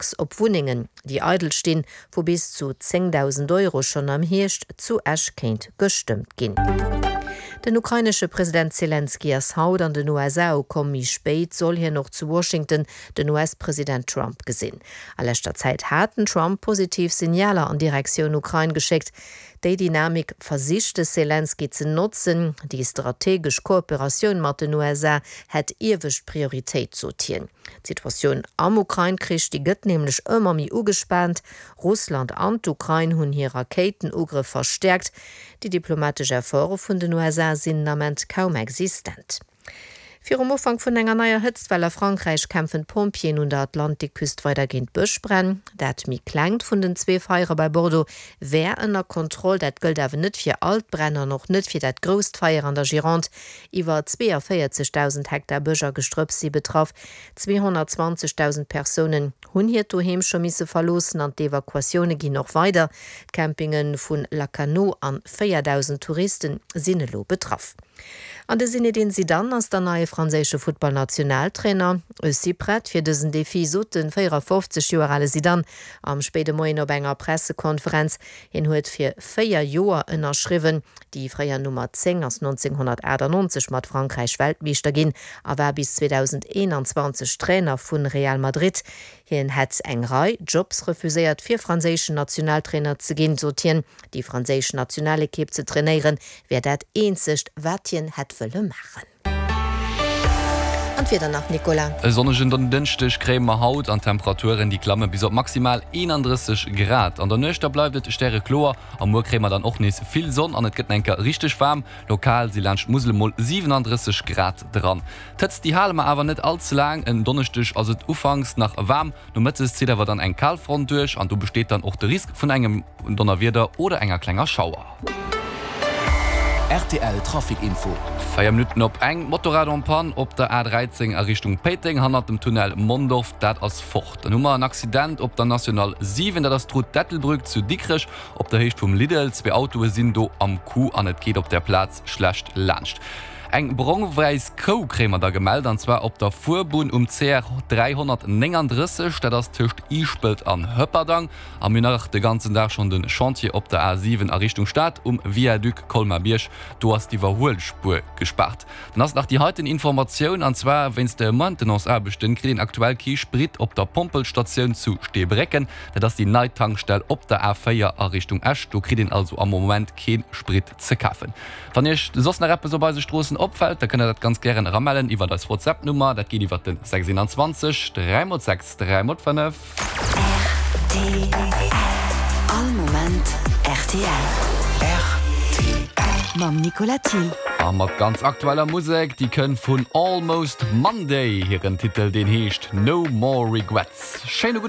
Tax op Wunnengen, déi eidel stinn, vu bis zu 10.000 Euro schonn am Hierscht zu Esch kéint gestëmmt ginn. Den ukrainesche President Zelenskyj ass haut an den USA ukomm. Méi spéit soll hien och zu Washington den US-President Trump gesinn. A leschter Zäit hat den Trump positiv Signaler an Direktioun Ukrain geschéckt. Déi Dynamik versicht de Selenskyj ze notzen. Déi strategesch Kooperatioun mat den USA hätt iewescht Prioritéit, sot hien. D'Situatioun am Ukrain-Krich, déi gëtt nämlech ëmmer méi ugespaant. Russland an d'Ukrain hunn hir Rakéitenugrëff verstäerkt. Déi diplomatesch Efforte vun den USA sinn den Ament kaum existent. Virum Ufank vun enger neier Hëtztwell a Frankräich kämpfen d'Pompjeeën un der Atlantikküst weider géint Bëschbränn. Dat méi klengt vun den zwee Feiere bei Bordeaux wär ënner Kontroll. Dat gëllt awer net fir all d'Bränn an och net fir dat grousst Feier an der Gironde. Iwwer 42.000 Hektar Bësch a Gestrëpps si betraff. 220.000 Persounen hunn hiert Doheem scho misse verloossen an d'Evakuatioune ginn och weider. D'Campinge vu Lacanau an 4.000 Touriste sinn elo betraff. An de Zinedine Zidane ass der neie franséische Futtballnationaltrainer. Ech si prett fir dësen Defi, sot de 54 Joer ale Zidane am spéide Moien op enger Pressekonferenz. Hien huet fir 4 Joer ënnerschriwwen. Déi fréier Nummer 10 ass 1998 mat Frankräich Weltmeeschter ginn a war bis 2021 Trainer vu Real Madrid. Hien hätt eng Rei Jobs refuséiert, fir franséischen Nationaltrainer ze ginn, sot hien. Déi franséisch Nationalekipp ze trainéieren, wär dat eenzegt, wat hien hätt wëlle maachen. An d'Wieder nach, Nicolas. E sonnegen Dënschdeg kréie mer haut an d'Temperaturen déi klamme bis op maximal 31 Grad. An der Nuecht da bleift et stärekloer a muer kréie mer dann och nees vill Sonn an et gëtt enker richteg waarm. Lokal si laanscht d'Musel emol 37 Grad dran. D'Hëtzt déi hale mer awer net all ze laang. En Donneschdeg ass et ufanks nach waarm, nomëttes zitt awer dann eng Kalfront duerch an do besteet dann och de Risk vun engem Donnerwieder oder enger klenger Schauer. Rtl Trafic Info. 4 Minutten op eng, Motorrad en panne op der A13 a Richtung Péiteng hannert dem Tunnel Mondorf, dat ass fort. Dann hu mer en Accident op der National 7, dat ass d'Route d'Ettelbruck zu Dikrech op der Héicht vum Lidl. Zwee Autoe sinn do am Coup an et geet op der Plaz schlecht laanscht. Eng brong-wäiss Kou kréie mer da gemellt, an zwar op der Fuerbunn um CR 339, dat ass tëscht Iischpelt an Hëpperdang. A mir hunn nach de ganzen Dag schonn de Chantier op der A7 a Richtung Stad um Viaduc Colmar-Bierg, do ass d'Iwwerhuelspuer gespaart. Dann ass nach déi heiten Informatioun, an zwar wéinst de Maintenance-Aarbechten kritt een aktuell kee Sprit op der Pompelstatioun zu Steebrécken. Dat ass déi nei Tankstell op der A4 a Richtung Esch. Do kritt een also am Moment kee Sprit ze kafen. Wann Iech soss nach eppes op eise Stroossen opfält, da kënnt der dat ganz gären eramellen iwwert eis WhatsApp-Nummer. Dat geet iwwert den 621 3 x 6 3 x 5. Rtl. All Moment rtl. Rtl. Mam Nicolas Thill. A mat ganz aktueller Musek, déi kënnt vun Almost Monday. Hiren Titel deen heescht No More Regrets. Schéine gudde.